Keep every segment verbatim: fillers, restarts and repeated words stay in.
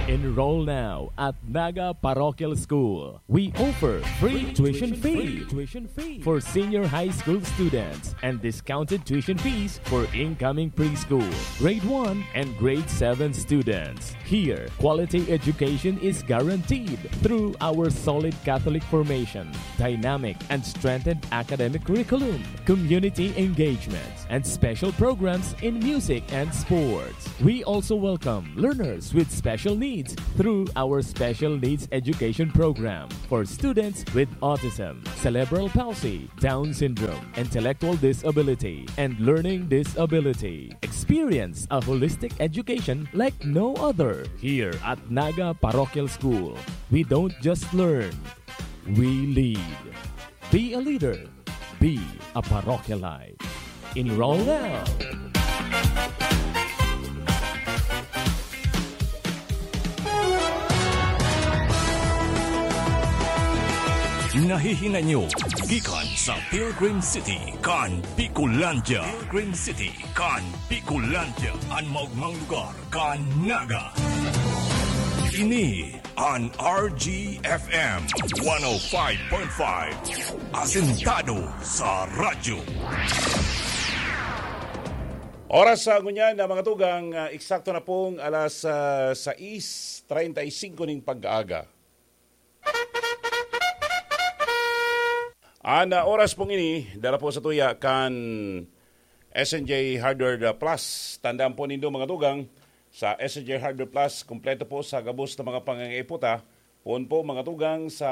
Enroll now at Naga Parochial School. We offer free tuition fee for senior high school students and discounted tuition fees for incoming preschool, grade one, and grade seven students. Here, quality education is guaranteed through our solid Catholic formation, dynamic and strengthened academic curriculum, community engagement, and special programs in music and sports. We also welcome learners with special needs through our Special Needs Education Program for students with autism, cerebral palsy, Down syndrome, intellectual disability, and learning disability. Experience a holistic education like no other. Here at Naga Parochial School, we don't just learn, we lead. Be a leader. Be a Parochialite. Enroll now. Nahihinay nyo gikan sa Pilgrim City kan Bicolandia. Pilgrim City kan Bicolandia, an maogmang lugar kan Naga. Ini an R G F M one oh five point five, asentado sa radyo. Oras sa ngunyan na mga tugang, ah, eksakto na pong alas, ah, sais treinta y cinco ning pag-aaga. An, ah, oras pong ini, dara po sa tuya kan S N J Hardware Plus. Tandaan po nindo, mga tugang, sa S N J Hardware Plus, kompleto po sa gabos na mga pangangaiputa. Poon po, mga tugang, sa,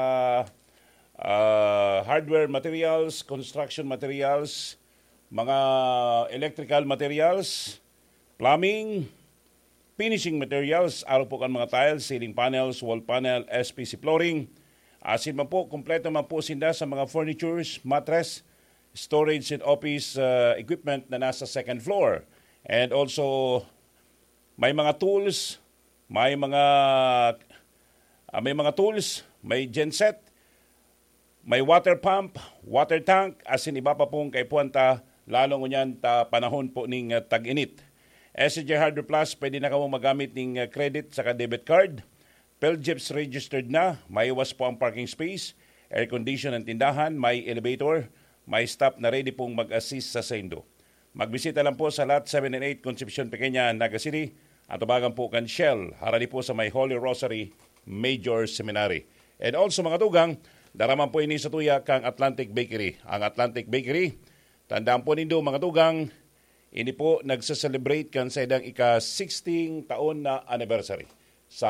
ah, hardware materials, construction materials, mga electrical materials, plumbing, finishing materials, arog po kan mga tiles, ceiling panels, wall panel, S P C flooring. Asin man po, kompleto man po sinda sa mga furnitures, mattress, storage and office, uh, equipment na nasa second floor. And also, may mga tools, may mga, ah, may mga tools, may genset, may water pump, water tank, asin iba pa pong kaipuhan ta, lalo ngunyan ta panahon po ning, ah, tag-init. S J Hardware Plus, pwede na kamo magamit ning, ah, credit saka debit card. Philjeps registered na, maiwas po ang parking space, air condition ang tindahan, may elevator, may staff na ready pong mag-assist sa saindo. Magbisita lang po sa Lot seven and eight, Concepcion Pequeña, Naga City, at tubagan po kan Shell, harani po sa may Holy Rosary Major Seminary. And also, mga tugang, dara man po ini sa tuya kang Atlantic Bakery. Ang Atlantic Bakery, tandaan po nindo, mga tugang, ini po nagse-celebrate kan saidang ika-sixty taon na anniversary. Sa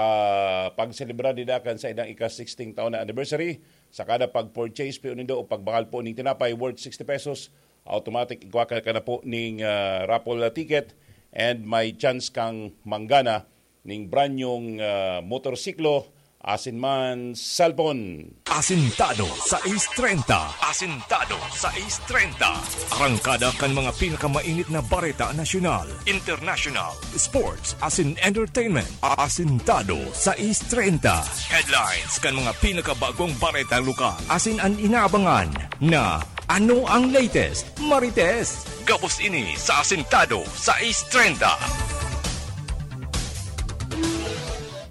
pagselebrar nila kan saidang ika-sixty taon na anniversary, sa kada pag-purchase po nindo o pagbakal po ning tinapay worth sixty pesos, automatic igwa ka na po ning, ah, raffle ticket and may chance kang manggana ning brand nyong, ah, motorsiklo asin man cellphone. Asintado sais treinta. Asintado sais treinta. Arangkada kan mga pinakamainit na bareta nasyonal, international, sports, asin entertainment. Asintado sais treinta. Headlines kan mga pinakabagong bareta lokal. Asin an inaabangan na ano ang latest, Marites? Gabos ini sa Asintado sais treinta.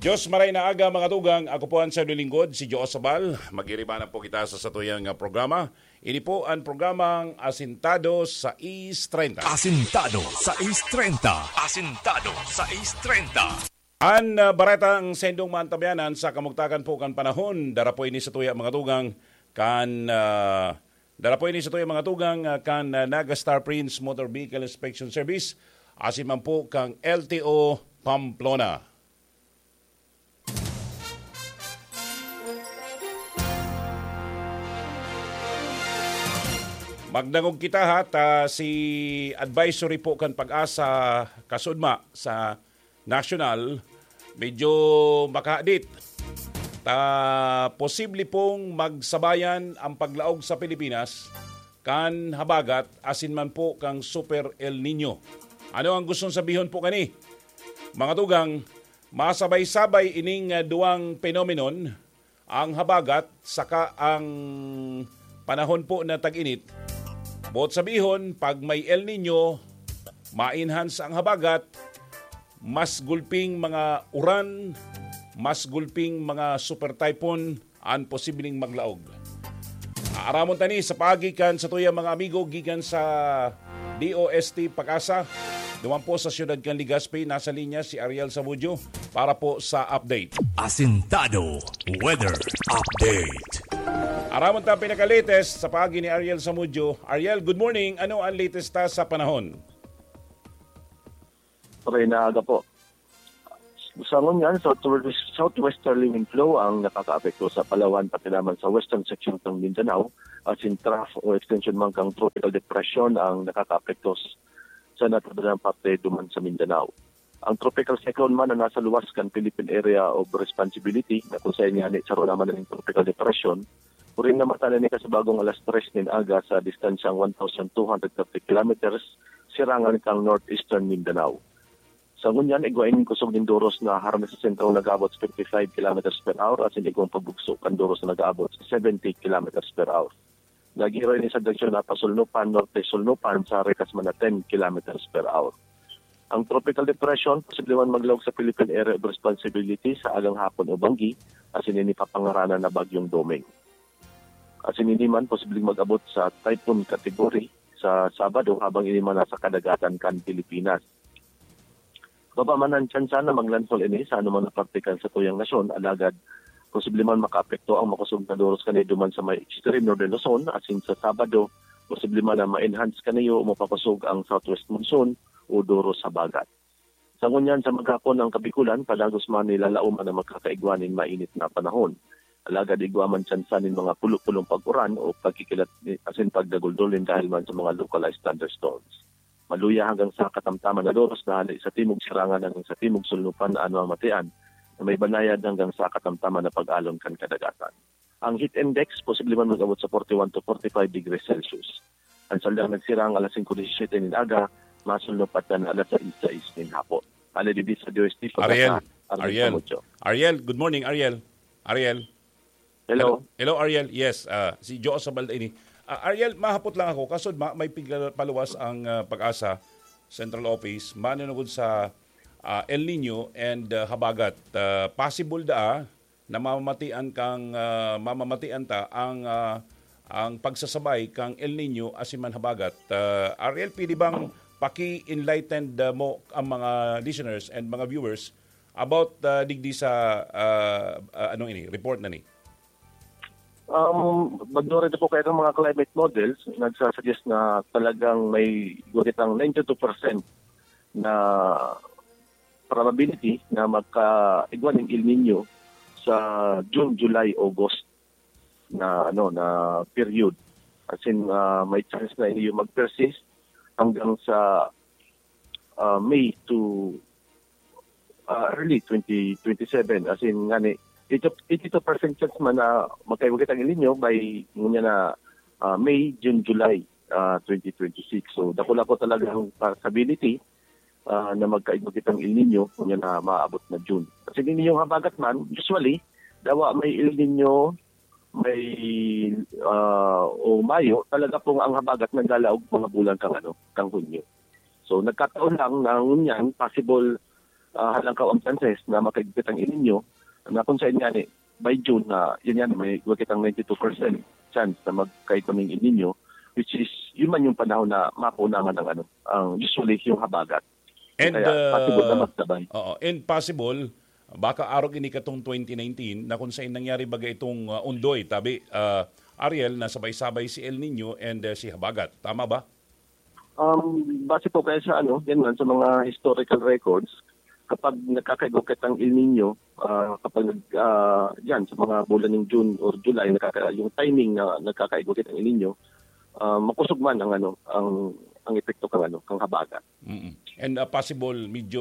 Diyos maray na aga, mga tugang. Ako po ang sarong lingkod, si Joe Sabal. Mag-iriba na po kita sa satuyang, ah, programa. Ini po ang programang Asintado sais treinta. Asintado sais treinta. Asintado sais treinta. An, ah, baretang sendong maantabayanan sa kamugtakan po kan panahon. Dara po ini sa tuya, mga tugang, kan, ah, dara po ini sa tuya, mga tugang, ah, kan, ah, Naga Star Prince Motor Vehicle Inspection Service, asin man po kang L T O Pamplona. Magdangog kita, ha, ta si advisory po kan Pag-asa kasudma sa national, medyo makahadit. Ta posible pong magsabayan ang paglaog sa Pilipinas kan habagat asin man po kang Super El Nino. Ano ang gustong sabihon po kani? Mga tugang, masabay-sabay ining, ah, duwang phenomenon, ang habagat saka ang panahon po na tag-init. Boot sabihon, pag may El Nino, ma-enhance ang habagat, mas gulping mga uran, mas gulping mga super typhoon an posibleng maglaog. Aaramon ta ni sa paagi kan satuyang mga amigo gikan sa D O S T PAGASA. Duman po sa siyudad kan Legazpi, nasa linya si Ariel Samudio para po sa update. Asintado Weather Update. Aramon ta pinaka-latest sa paagi ni Ariel Samudio. Ariel, good morning. Ano ang latest ta sa panahon? Maray na aga po. Sa ngunyan, southwest, southwesterly wind flow ang nakakaapekto sa Palawan, pati naman sa western section ng Mindanao, asin trough o extension man kang tropical depression ang nakakaapekto s- sa natabanang parte duman sa Mindanao. Ang tropical cyclone man na nasa luwas kan Philippine Area of Responsibility, na kung sa inyani, saro naman ning tropical depression, uring namata na ni kasabagong alas tres nin aga sa distansyang one thousand two hundred thirty kilometers, sirangan kang northeastern Mindanao. Sa ngunyan, igwa ining kusog nin doros na harani sa sentro nag-aabot sa fifty-five kilometers per hour asin igwang pabugso kan doros na nag-aabot sa seventy kilometers per hour. Nagiro ini sa direksyon na pasulnupan, norte-sulnupan sa rekas man na ten kilometers per hour. Ang tropical depression posible man maglaog sa Philippine Area of Responsibility sa agang hapon o banggi, asin ini papangaranan na Bagyong Doming. Asin ini man posibleng mag-abot sa typhoon category sa Sabado habang ini man nasa kadagatan kan Pilipinas. Baba man ang tsansa na maglandfall ini sa anumang parte kan satuyang nasyon, alagad posible man makaapekto ang makosog na doros kaniyo duman sa may extreme northern Luzon, asin sa Sabado, posible man na ma-enhance kaniyo o mapakosog ang southwest monsoon o doros habagat. Sa ngunyan sa maghapon ang Kabikulan, padagos man ni lalaoman na magkakaigwa nin mainit na panahon. Alagad igwa man tsansa nin mga pulo-pulong pag-uran o pagkikilat ni- asin pagdaguldol nin dahil man sa mga localized thunderstorms. Maluya hanggang sa katamtaman na doros na hali sa timog sirangan hanggang sa timog sulnupan na ano ang matian na may banayad hanggang sa katamtaman na pag-alon kan kadagatan. Ang heat index posible man mag-abot sa forty-one to forty-five degrees Celsius. Ang saldang nagsirang alas singko disisiyete nin aga, masulnupan na alas sais sais nin hapon. Hali digdi sa D O S T, Ariel, Pagasa, Arvin Ariel, Camucho. Ariel, good morning, Ariel. Ariel. Hello. Hello, Ariel. Yes, ah, si Joe Sabal ini. Ah, Ariel, mahapot lang ako. Kasod ma, may pigla- paluwas ang ah, PAGASA Central Office manunugod sa ah, El Nino and ah, habagat. Ah, possible daa na mamamatian kang ah, mamamatian ta ang ah, ang pagsasabay kang El Nino asin man habagat. Ah, Ariel, pwede bang paki-enlightened ah, mo ang mga listeners and mga viewers about ah, digdi sa ah, ah, anong ini report na ni? Um, magdura na po kayo ng mga climate models, nagsasuggest na talagang may guwit ang ninety-two percent na probability na magkaigwa ng El Nino sa June, July, August na ano na period. As in, ah, may chance na iyo mag-persist hanggang sa ah, May to ah, early twenty twenty-seven. As in, ngani, eighty-two percent chance man na magkaiwagit ang El Nino by ngunyan na ah, May, June, July ah, twenty twenty-six. So, dakula po talaga ang possibility ah, na magkaiwagit ang El Nino ngunyan na maabot na June. Kasi ninyong habagat man, usually, dawa may El Nino, may ah, o Mayo, talaga pong ang habagat naglalaog mga bulan kang ano, kang Hunyo. So, nagkataon lang na ngunyan, possible ah, halangkaw ang chances na makaigpit ang El Nino, na kung saan nga ni, by June na, yan yan, may guwagit ang ninety-two percent chance na magkaigwa ng El Nino, which is, yun man yung panahon na mapunaman ang ano, ang usually yung habagat. And Kaya possible na ah, magsabay. Oo, and possible baka arog ini katong twenty nineteen na kung saan nangyari baga itong ah, Ondoy, tabi ah, Ariel, na sabay-sabay si El Nino and ah, si Habagat. Tama ba? Um, base po kaya sa ano, yan man, sa mga historical records, kapag nagkakaigwakit ang El Nino, ah, kapag nag, ah, yan, sa mga bulan ng June or July, nagkaka, yung timing na nagkakaigwakit ang El Nino, ah, makusog man ang ano, ang ang epekto kang ano, kang habagat. Mm-mm. And ah, possible medyo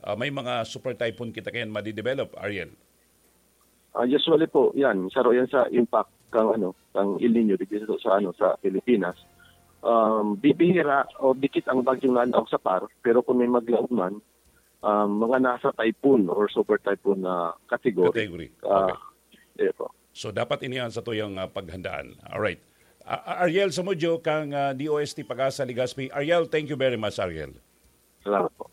ah, may mga super typhoon kita kayan madidevelop, Ariel. Ah, usually po, yan, saro yan sa impact kang ano, kang El Nino dito sa, sa ano, sa Pilipinas. Um, bibihira o dikit ang bagyong nanaog sa par, pero kung may maglaog man, um, mga nasa typhoon or super typhoon na category. Category. Ah, Okay. Yun po. So dapat ini ang satuyang ah, paghandaan. Alright. Ah, Ariel Samudio kang ah, D O S T PAGASA Legazpi. Ariel, thank you very much, Ariel. Salamat po.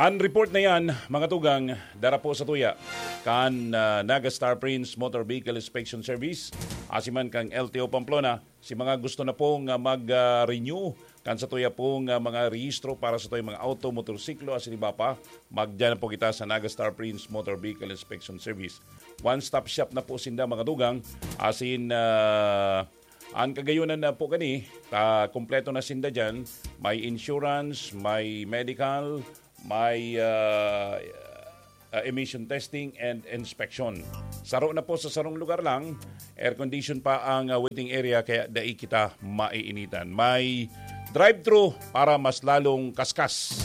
An report na yan, mga tugang, dara po sa tuya kan, ah, Naga Star Prince Motor Vehicle Inspection Service, asiman kang L T O Pamplona, si mga gusto na pong, ah, mag, ah, renew kan sa tuya pong, ah, mga rehistro para sa tuya mga auto, motorsiklo, asin iba pa, magdiyan na po kita sa Naga Star Prince Motor Vehicle Inspection Service. One-stop shop na po sinda, mga tugang, asin, ah, An kagayonan na po kani, ta kompleto na sinda diyan. May insurance, may medical, may, ah, ah, emission testing and inspection. Saro na po sa sarong lugar lang, air condition pa ang, ah, waiting area kaya dai kita maiinitan. May drive-thru para mas lalong kaskas.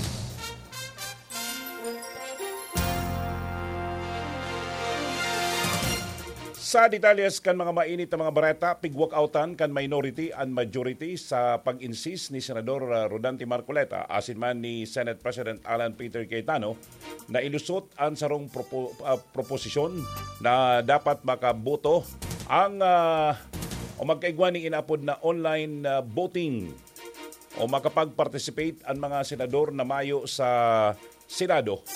Sa detalyes kan mga mainit na mga bareta, pigwalkoutan kan minority an majority sa pag-insist ni Senador, ah, Rodante Marcoleta asin man ni Senate President Alan Peter Cayetano na ilusot an sarong propo-, ah, proposisyon na dapat makaboto ang, ah, o magkaigwa ning inaapod na online, ah, voting o makapag-participate an mga senador na mayo sa Senado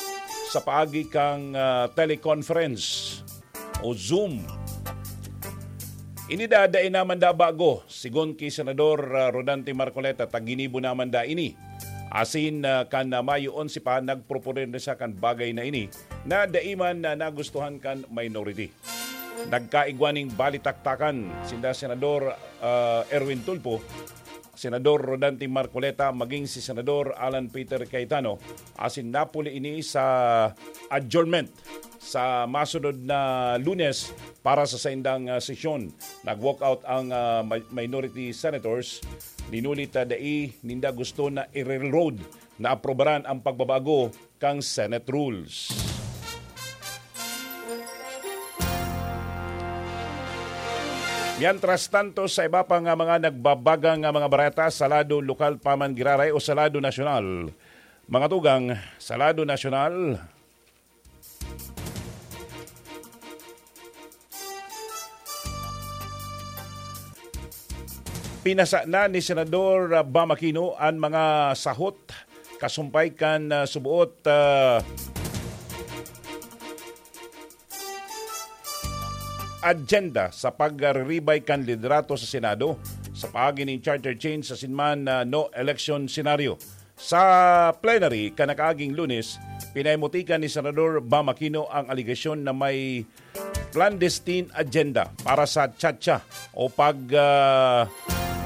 sa paagi kan, ah, teleconference o Zoom. Ini da, dai naman da bago, sigon ki Senador, ah, Rodante Marcoleta, ta ginibo naman da ini. Asin, ah, kan, ah, Mayo onse pa, nagproponer na siya kan bagay na ini na dai man na nagustuhan kan minority. Nagkaigwa ning balitaktakan sinda Senador, ah, Erwin Tulfo, Senador Rodante Marcoleta, maging si Senador Alan Peter Cayetano, asin napuli ini sa adjournment sa masunod na Lunes para sa saindang, ah, sesyon. Nag-walkout ang, ah, mi-, minority senators, linuli ta dai ninda gusto na i-railroad na aprobaran ang pagbabago kan Senate rules. Mientras tanto, sa iba pa nga mga nagbabaga nga mga bareta sa lado lokal pa man giraray o sa lado nasyonal, mga tugang, sa lado nasyonal, pinasa na ni Senador, ah, Bam Aquino an mga sahot kasumpay kan, ah, suboot, ah, agenda sa pagriribay kan liderato sa Senado sa paagi nin charter change asin man, ah, no election scenario. Sa plenary kan nakaaging Lunes, pinaimutikan ni Senador Bam Aquino ang alegasyon na may clandestine agenda para sa chacha o pag, ah,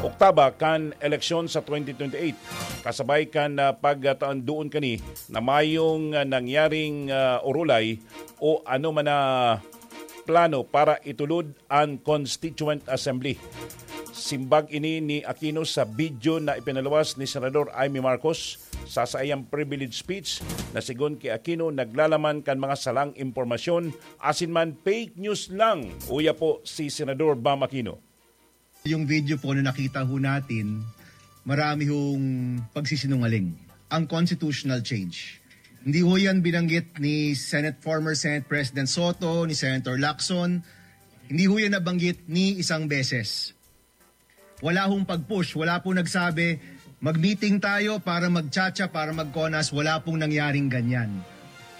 oktaba kan eleksyon sa twenty twenty-eight. Kasabay kan, ah, pagtaon duon kani na mayong, ah, nangyaring, ah, orolay o ano man na plano para itulod an Constituent Assembly. Simbag ini ni Aquino sa video na ipinaluwas ni Senador Imee Marcos sa saiyang privilege speech na sigon ki Aquino naglalaman kan mga salang impormasyon asin man fake news lang. Uya po si Senador Bam Aquino. Yung video po na nakita ho natin, marami hong pagsisinungaling. Ang constitutional change. Hindi ho yan binanggit ni Senate, former Senate President Soto, ni Senator Lacson. Hindi ho yan nabanggit ni isang beses. Wala hong pag-push, wala pong nagsabi, "Mag-meeting tayo para magchacha, para magkonas." Wala pong nangyaring ganyan.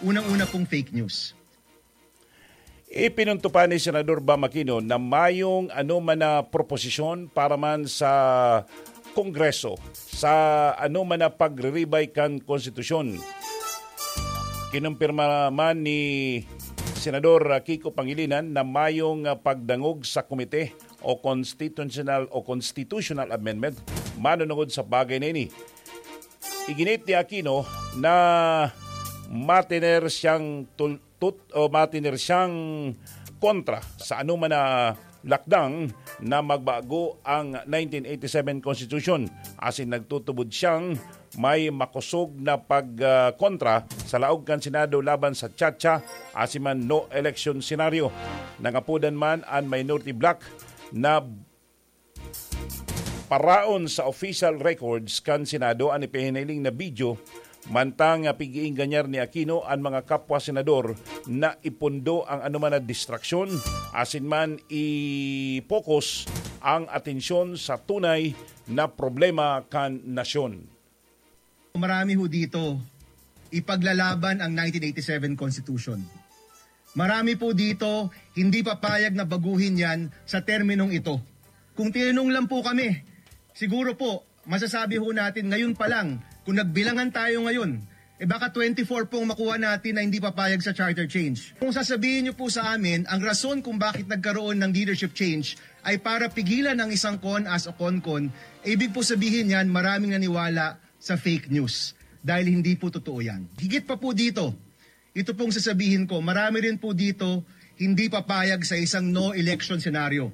Unang-una pong fake news. Ipinunto pa ni Senador Bam Aquino na mayong anoman na proposisyon para man sa Kongreso sa anoman na pagriribay kan konstitusyon. Kinumpirma man ni Senador Kiko Pangilinan na mayong, ah, pagdangog sa komite o constitutional o constitutional amendment manunungod sa bagay na ini. Iginit ni Aquino na matiner siyang tul-, tut-, o matiner siyang kontra sa anoman na lakdang na magbago ang nineteen eighty-seven Constitution, asin nagtutubod siyang may makosog na pag, ah, kontra sa laog kan Senado laban sa chacha asin man no election scenario. Nangapodan man an minority bloc na paraon sa official records kan Senado an ipinahiling na video, mantang pig-iingganyar ni Aquino an mga kapwa senador na ipondo ang anoman na distraksyon, asin man i-focus ang atensyon sa tunay na problema kan nasyon. Marami ho dito ipaglalaban ang nineteen eighty-seven Constitution. Marami po dito hindi papayag na baguhin yan sa terminong ito. Kung tinanong lang po kami, siguro po, masasabi ho natin ngayon pa lang, kung nagbilangan tayo ngayon, eh baka twenty-four pong makuha natin na hindi papayag sa charter change. Kung sasabihin niyo po sa amin, ang rason kung bakit nagkaroon ng leadership change ay para pigilan ang isang con as o con-con, ibig po sabihin yan, maraming naniwala sa fake news. Dahil hindi po totoo yan. Higit pa po dito, ito pong sasabihin ko, marami rin po dito hindi papayag sa isang no election scenario.